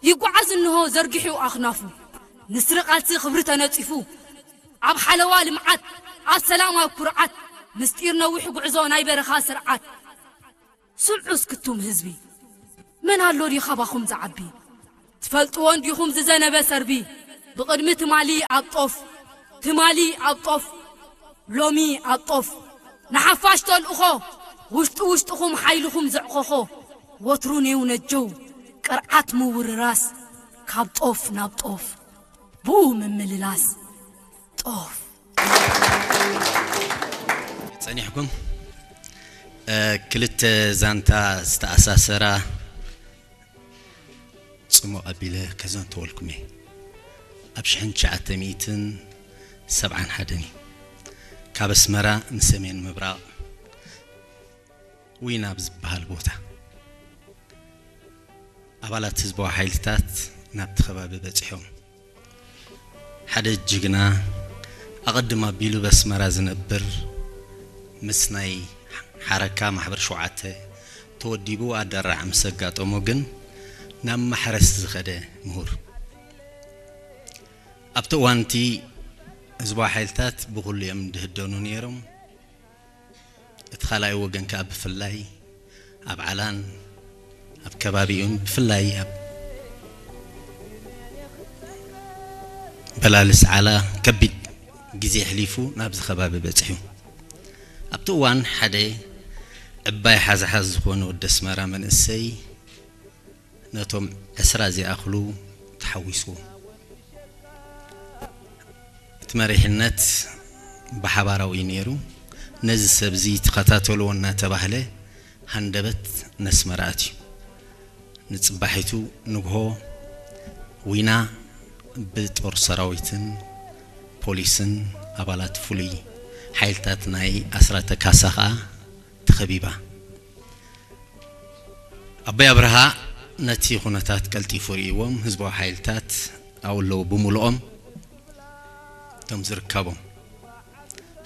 ይጓዓዝ እንሆ ዘርጊሑ ኣኽናፉ። ንስሪ ቃልሲ ክብሪ ተነጺፉ፣ ኣብ ሓለዋ ልምዓት፣ ኣብ ሰላም ኣብ ኩርዓት፣ ምስጢር ነዊሕ ጉዕዞ ናይ በረኻ ስርዓት። ስምዑ እስክቱም ህዝቢ፣ መን ኣሎ ድዩ ካባኹም ዝዓቢ? ትፈልጥዎ እንዲኹም ዝዘነበ ሰርቢ፣ ብቕድሚ ትማሊ ኣብ ጦፍ፣ ትማሊ ኣብ ጦፍ፣ ሎሚ ኣብ ጦፍ። ንሓፋሽ ተልእኾ፣ ውሽጢ ውሽጥኹም ሓይልኹም ዘዕኾኾ፣ ወትሩ ኔው ነጀው፣ ቅርዓት ምውርራስ፣ ካብ ጦፍ ናብ ጦፍ፣ ብኡ ምምልላስ፣ ጦፍ። ጸኒሕኩም፣ እ፣ ክልተ ዛንታ ዝተኣሳሰራ ጽሙቕ ኣቢለ ከዘንተወልኩም እየ። ኣብ ሽሕን ትሽዓተ ሚእትን ሰብዓን ሓደን እዩ። ካብ ኣስመራ ንሰሜን ምብራቕ ዊና ኣብ ዝበሃል ቦታ ኣባላት ህዝባዊ ሓይልታት ናብቲ ከባቢ በጺሖም። ሓደ ጅግና ኣቐድም ኣቢሉ በስመራ ዝነብር ምስ ናይ ሓረካ ማሕበር ሸውዓተ ተወዲቡ ኣደራዕ ምስ ኣጋጠሞ ግን ናብ ማሕረስ ዝኸደ ምሁር። ኣብቲ እዋንቲ ህዝባዊ ሓይልታት ብኹሉ እዮም ድህደኑ ነይሮም። እቲ ካልኣይ ወገን ከኣ ብፍላይ ኣብ ዓላን ኣብ ከባቢኡን ብፍላይ ኣብ በላልስ ዓላ ከቢድ ግዜ ኣሕሊፉ ናብዚ ከባቢ በጺሑ። ኣብቲ እዋን ሓደ ዕባይ ሓዝሓዝ ዝኾነ ወዲ ኣስመራ መንእሰይ ነቶም ዕስራ ዚኣኽሉ ተሓዊስዎም። እቲ መሪሕነት ብሓባራዊ እዩ ነይሩ። ነዚ ሰብ እዚ ተኸታተልዎ እናተባህለ ሃንደበት ነስመራ ኣትዩ። ንጽባሒቱ ንግሆ ዊና ብጦር ሰራዊትን ፖሊስን ኣባላት ፍሉይ ሓይልታት ናይ ኣስራተ ካሳ ኸኣ ተኸቢባ። ኣቦይ ኣብርሃ ነቲ ኩነታት ቀልጢፉ ርእይዎም ህዝባዊ ሓይልታት ኣብኡ ኣለዉ ብምልኦም እቶም ዝርከቦም።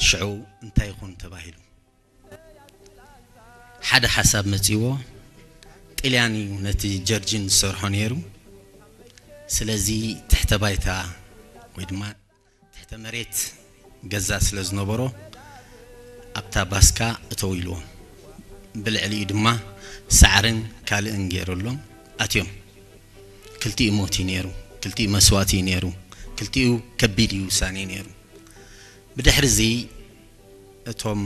ሽዑ እንታይ ይኹን ተባሂሉ? ሓደ ሓሳብ መጺዎ። ጥልያን እዩ ነቲ ጀርጂን ዝሰርሖ ነይሩ። ስለዚ ትሕተ ባይታ ወይ ድማ ትሕተ መሬት ገዛ ስለ ዝነበሮ ኣብታ ባስካ እተው ኢልዎም። ብልዕሊኡ ድማ ሳዕርን ካልእን ገይሩሎም ኣትዮም። ክልቲኡ ሞት እዩ ነይሩ፣ ክልቲኡ መስዋእቲ እዩ ነይሩ፣ ክልቲኡ ከቢድ እዩ ውሳኔ ነይሩ። ብድሕሪ እዚ እቶም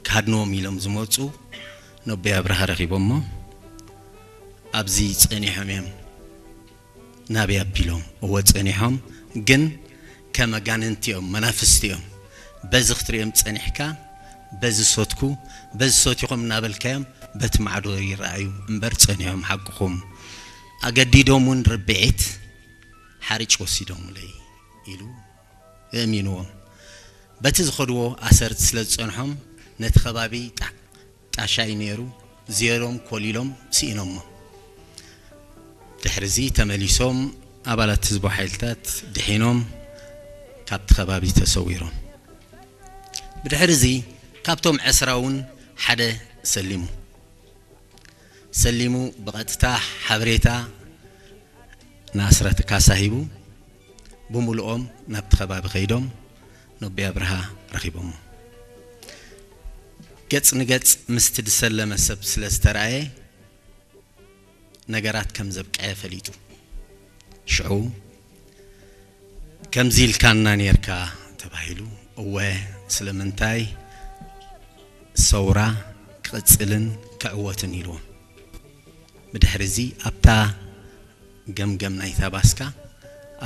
ክሃድንዎም ኢሎም ዝመፁ ነቦይ ኣብርሃ ረኺቦሞ ኣብዚ ፀኒሖም እዮም። ናበይ ኣቢሎም? እወ ፀኒሖም፣ ግን ከም ኣጋንንቲ እዮም፣ መናፍስቲ እዮም። በዚ ክትሪኦም ፀኒሕካ በዚ ሰትኩ፣ በዚ ሰቲኹም እናበልካዮም በቲ ማዕዶ ይረኣዩ እምበር ፀኒሖም ሓቅኹም። ኣገዲዶም እውን ርብዒት ሓርጭ ወሲዶምለይ ኢሉ የእሚንዎም። በቲ ዝኸድዎ ኣሰርት ስለ ዝጸንሖም ነቲ ከባቢ ጣ- ጣሻይ ነይሩ። ዝየሮም ኮሊሎም ስኢኖሞ። ድሕሪ እዚ ተመሊሶም ኣባላት ህዝባዊ ሓይልታት ድሒኖም ካብቲ ከባቢ ተሰዊሮም። ብድሕሪ እዚ ካብቶም ዕስራ እውን ሓደ ሰሊሙ። ሰሊሙ ብቐጥታ ሓበሬታ ንኣስራተ ካሳ ሂቡ። ብምሉኦም ናብቲ ከባቢ ከይዶም ነቦይ ኣብርሃ ረኺቦሞ። ገጽ ንገጽ ምስቲ ዝሰለመ ሰብ ስለ ዝተራእየ ነገራት ከም ዘብቀዐ ፈሊጡ። ሽዑ ከምዚ ኢልካና ኔርካ ተባሂሉ። እወ፣ ስለምንታይ ሰውራ ክቕጽልን ክዕወትን ኢልዎም። ብድሕሪ እዚ ኣብታ ገምገም ናይታ ባስካ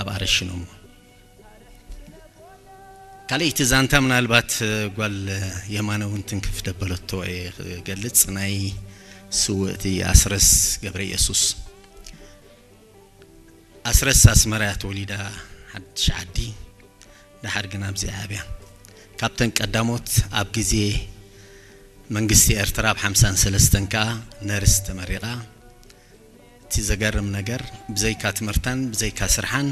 ኣብኣ ረሽኖሞ። ካልኣይቲ ዛንታ ምናልባት ጓል የማነ እውን ትንክፍ ደበለቶ እየ ክገልጽ፣ ናይ ስውእቲ ኣስረስ ገብረ ኢየሱስ። ኣስረስ ኣስመራ እያ ተወሊዳ፣ ሓድሽ ዓዲ፣ ደሓር ግን ኣብዚ ዓብያ። ካብተን ቀዳሞት ኣብ ግዜ መንግስቲ ኤርትራ ኣብ ሓምሳን ሰለስተን ከኣ ነርስ ተመሪቓ። እቲ ዘገርም ነገር ብዘይካ ትምህርታን ብዘይካ ስርሓን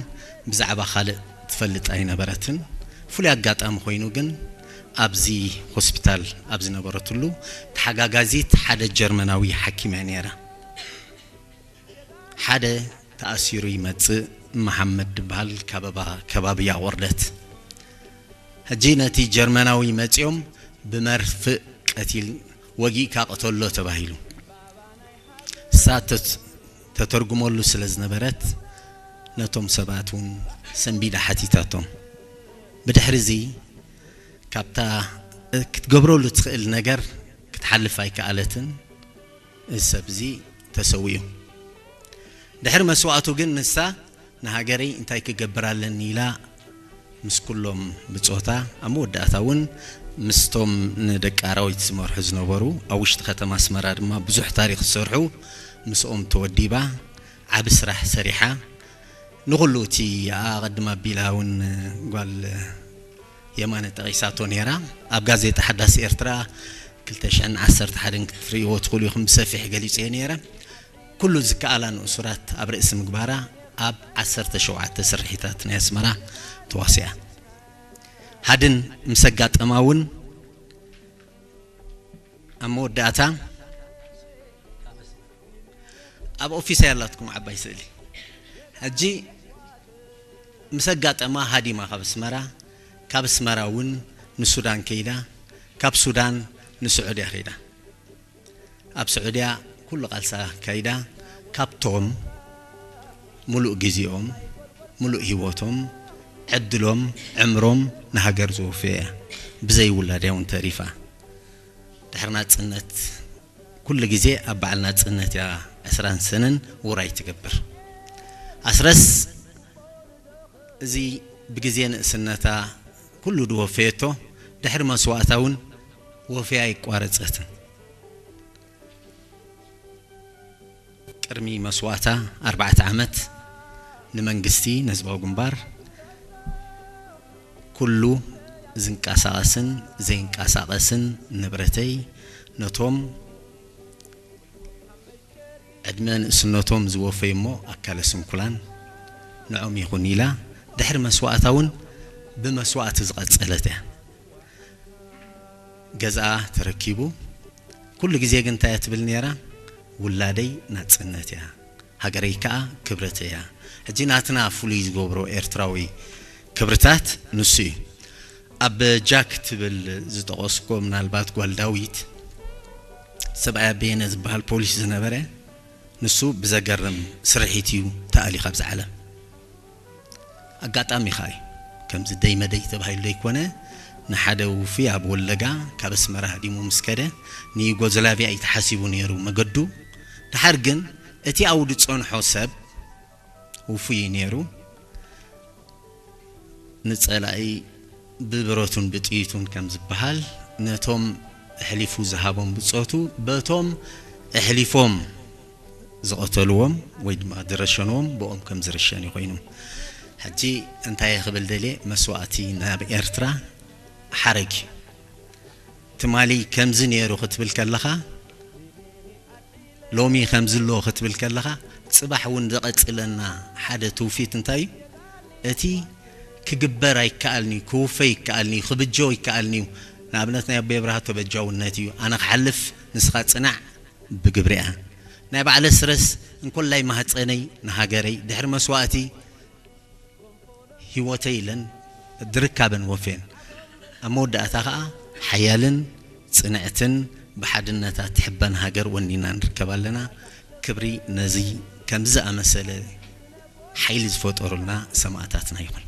ብዛዕባ ካልእ ትፈልጥ ኣይነበረትን። ፍሉይ ኣጋጣሚ ኮይኑ ግን ኣብዚ ሆስፒታል ኣብ ዝነበረትሉ ተሓጋጋዚት ሓደ ጀርመናዊ ሓኪም እያ ነይራ። ሓደ ተኣሲሩ ይመጽእ። መሓመድ ድበሃል ካበባ ከባቢ ያቆርደት። ሕጂ ነቲ ጀርመናዊ መጺኦም ብመርፍእ ቀቲል ወጊእካ ቅተሎ ተባሂሉ። እሳ ተት-፣ ተተርጉመሉ ስለ ዝነበረት ነቶም ሰባት እውን ሰንቢዳ ሓቲታቶም። ብድሕሪ እዚ ካብታ ክትገብረሉ ትኽእል ነገር ክትሓልፍ ኣይከኣለትን። እዚ ሰብ እዚ ተሰዊኡ። ድሕሪ መስዋእቱ ግን ንሳ ንሃገረይ እንታይ ክገብር ኣለኒ ኢላ ምስ ኩሎም ብጾታ ኣብ መወዳእታ እውን ምስቶም ንደቂ ኣራዊት ዝመርሑ ዝነበሩ ኣብ ውሽጢ ከተማ ኣስመራ ድማ ብዙሕ ታሪኽ ዝሰርሑ ምስኦም ተወዲባ ዓቢ ስራሕ ሰሪሓ ንኹሉ እቲ ኣቐድም ኣቢላ እውን ጓል የማነ ጠቒሳቶ ነይራ። ኣብ ጋዜጣ ሓዳስ ኤርትራ ክልተ ሽሕን ዓሰርተ ሓደን ክትርእይዎ ትኽእሉ ኢኹም፣ ብሰፊሕ ገሊጸዮ ነይረ። ኩሉ ዝከኣላ ንእሱራት ኣብ ርእሲ ምግባራ ኣብ ዓሰርተ ሸውዓተ ስርሒታት ናይ ኣስመራ ተዋሲኣ። ሃድን ምስ ኣጋጠማ እውን ኣብ መወዳእታ ኣብ ኦፊስ ያላትኩም ዓባይ ስእሊ። ሕጂ ምስ ኣጋጠማ ሃዲማ ካብ ኣስመራ፣ ካብ ኣስመራ እውን ንሱዳን ከይዳ፣ ካብ ሱዳን ንስዑድያ ከይዳ። ኣብ ስዑድያ ኩሉ ቃልሳ ካይዳ፣ ካብቶም ሙሉእ ግዜኦም፣ ሙሉእ ህይወቶም፣ ዕድሎም፣ ዕምሮም ንሃገር ዝወፈየ እያ። ብዘይ ውላድ እያ እውን ተሪፋ። ድሕሪ ናጽነት፣ ኩሉ ግዜ ኣብ በዓል ናጽነት እያ ዕስራን ሰነን ውራይ ትገብር። ኣስረስ እዚ ብግዜ ንእስነታ ኩሉ ዝወፈየቶ፣ ድሕሪ መስዋእታ እውን ወፈያ ኣይቋረጸትን። ቅድሚ መስዋእታ ኣርባዕተ ዓመት ንመንግስቲ፣ ንህዝባዊ ግንባር፣ ኩሉ ዝንቀሳቐስን ዘይንቀሳቐስን ንብረተይ ነቶም ዕድመ ንእስነቶም ዝወፈዩ እሞ ኣካለ ስንኩላን ንዖም ይኹን ኢላ፣ ድሕሪ መስዋእታ እውን ብመስዋእቲ ዝቐጸለት እያ። ገዝኣ ተረኪቡ፣ ኩሉ ግዜ ግን እንታይ እያ ትብል ነይራ? ውላደይ ናጽነት እያ፣ ሃገረይ ከኣ ክብረተይ እያ። ሕጂ ናትና ፍሉይ ዝገብሮ ኤርትራዊ ክብርታት ንሱ እዩ። ኣብ ጃክ ትብል ዝጠቐስኮ፣ ምናልባት ጓል ዳዊት፣ ሰብኣያ በየነ ዝበሃል ፖሊስ ዝነበረ፣ ንሱ ብዘገርም ስርሒት እዩ ተኣልዩ ካብዚ ዓለም። ኣጋጣሚ ኸኣ እዩ። ከምዚ ደይ መደይ ተባሂሉ ዘይኮነ፣ ንሓደ ውፉይ ኣብ ወለጋ ካብ ኣስመራ ሃዲሙ ምስ ከደ፣ ንዩጎዝላቪያ እዩ ተሓሲቡ ነይሩ መገዱ። ደሓር ግን እቲ ኣብኡ ዝጸንሖ ሰብ ውፉይ እዩ ነይሩ። ንጸላኢ ብብረቱን ብጥይቱን ከም ዝበሃል፣ ነቶም ኣሕሊፉ ዝሃቦም ብጾቱ፣ በቶም ኣሕሊፎም ዝቐተልዎም ወይ ድማ ዝረሸንዎም ብኦም ከም ዝርሸን እዩ ኮይኑ። ሕጂ እንታይ እየ ክብል ደልየ፣ መስዋእቲ ናብ ኤርትራ ሓረግ እዩ። ትማሊ ከምዚ ነይሩ ክትብል ከለኻ፣ ሎሚ ከምዚ ኣሎ ክትብል ከለኻ፣ ጽባሕ እውን ዘቐጽለና ሓደ ትውፊት እንታይ እዩ? እቲ ክግበር ኣይከኣልን እዩ፣ ክውፈ ይከኣልን እዩ፣ ክብጆ ይከኣልን እዩ። ንኣብነት ናይ ኣቦይ ኣብርሃ ተበጃውነት እዩ። ኣነ ክሓልፍ፣ ንስኻ ጽናዕ ብግብሪኣ። ናይ ባዕለ ስረስ እንኮላይ ማህጸነይ ንሃገረይ ድሕሪ መስዋእቲ ህይወተይ ኢለን ድርካበን ወፌን። ኣብ መወዳእታ ኸኣ ሓያልን ጽንዕትን ብሓድነታ ትሕበን ሃገር ወኒና ንርከብ ኣለና። ክብሪ ነዚ ከምዚ ዝኣመሰለ ሓይሊ ዝፈጠሩልና ሰማእታትና ይኹን።